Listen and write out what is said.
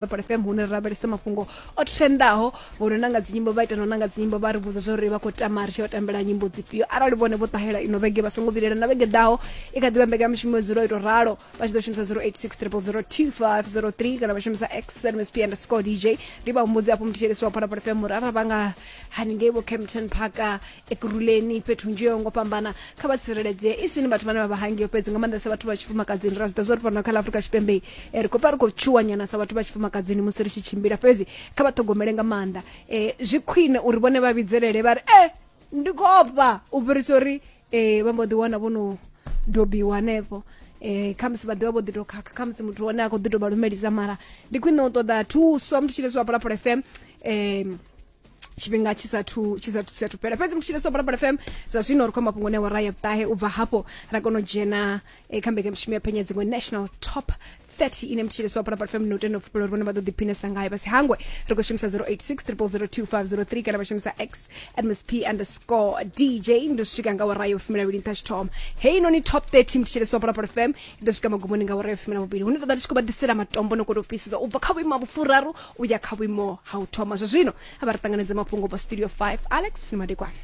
Phalaphala FM hune ra lavhelesa mafhungo o trendaho. Vho no nanga dzinyimbo vha ita no nanga dzinyimbo vha ri vhudza zwa uri vha khou tama ri tshi vha tambela nyimbo dzifhio. Arali vhone vho ṱahela ino vhege vha songo vhilela, na vhege ḓaho i kha ḓivha mbekanyamushumo yo dzula ito ralo. Vha tshi ḓo shumisa 086 0002503 kana vha shumisa xmsp underscore dj. Ndi vha humbudze hafho muthetshelesi wa Phalaphala FM uri arali vha nga haningei vho Kempton Park, Ekurhuleni, fhethu hunzhi yo ngo fhambana, kha vha tsireledzee, i sini vhathu vhane vha vha hangeo fhedzi, nga maanḓesa vhathu vha tshifumakadzini. Ra zwi ḓivha zwa uri fhano kha ḽa Afrika Tshipembe ri khou pfa ri khou tshuwa nyana sa vhathu vha tshifumakadzini musi ri tshi tshimbila, fhedzi kha vha ṱhogomele nga maanḓa. Zwi khwine uri vhone vha vhidzelele vha ri e ndi khou ofha, u fhirisa uri vha mbo ḓi wana vho no dobiwa hanefho. Khamusi vha ḓivha vho ḓi to khakha, khamusi muthu hone a khou ḓi to vha lumelisa, mara ndi khwine u ṱoḓa thuso. Muthu tshileswa Phalaphala FM tshifhinga tshi sathu tshi sathu tshi sathu fhela. Fhedzi mutshile so Phalaphala FM zwa zwino ri khou mafhungo ne wara ya vhuṱahe, u bva hafho ra kona u dzhena kha mbekanyamushumo ya phenya dziṅwe National Top 30 ine mutshile so Phalaphala FM no tenda u fhufhela uri vhone vha ḓo ḓiphinesa ngayo. Vha si hangwe ri khou shumisa 086 0002503 kana vha shumisa x msp underscore dj. Ndi swika nga wara ya vhufumi nṱha tshithoma heinoni Top 30 mutshile so Phalaphala FM i ḓo swika magumoni nga wara ya 12, hune ṱoḓa ndi tshi khou vha ḓisela matombo no kona u fhisisa u bva kha vhuimo ha vhufuraru u ya kha vhuimo ha u thoma. Zwa zwino a vha ri ṱanganedze mafhungo bva studio 5, Alex ni madekwana.